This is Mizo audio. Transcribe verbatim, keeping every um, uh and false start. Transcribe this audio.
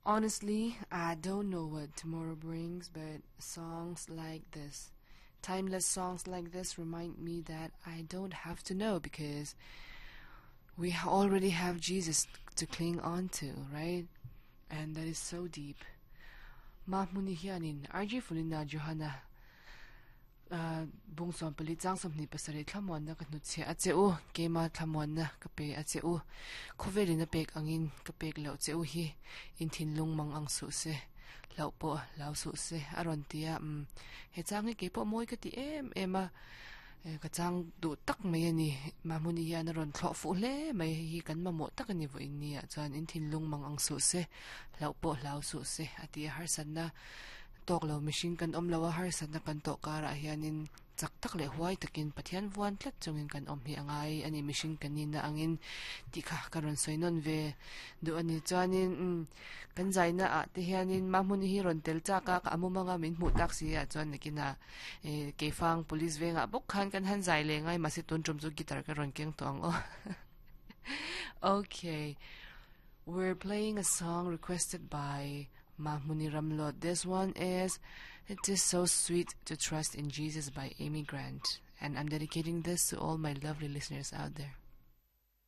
Honestly, I don't know what tomorrow brings, but songs like this, timeless songs like this, remind me that I don't have to know because we already have Jesus to cling on to, right? And that is so deep. Mahmuni hianin R G Fulina Johanna bung sawm pali chang sawmhnih pasarih thlamuanna ka hnutchhiah a che u, keima thlamuanna ka pe a che u, khawvelin a pek angin ka pek loh che u hi, in thinlung mang ang suh se, hlauh pawh hlau suh se a rawn ti a. Um he chang hi keipawh mawi ka ti em em a, ka chang duh tak mai a ni. Mahmuni hian a rawn thlawh fuh hle mai, hei hi kan mamawh tak a ni vawiin ni ah chuan. In thinlung mang ang suh se, hlauh pawh hlau suh se a ti a. Harsatna tawk lo mihring kan awm lo a, harsatna kan tawh karah hianin chak tak leh huai takin Pathian vuan tlat chungin kan awm hi a ngai a ni, mihring kan nihna angin tih kha ka rawn sawi nawn ve duh a ni. Chuanin umm kan zaina ah te hianin Mahmuni hi rawn tel chak a, ka amum anga min hmuh tak si ah chuan nakinah eh Keifang Police vengah bawk khan kan han zai leh ngai, mahse tun tum chu guitar ka rawn keng tawh ang aw. Okay, we're playing a song requested by Mahmuni Ramlot. This one is "It Is So Sweet to Trust in Jesus" by Amy Grant. And I'm dedicating this to all my lovely listeners out there.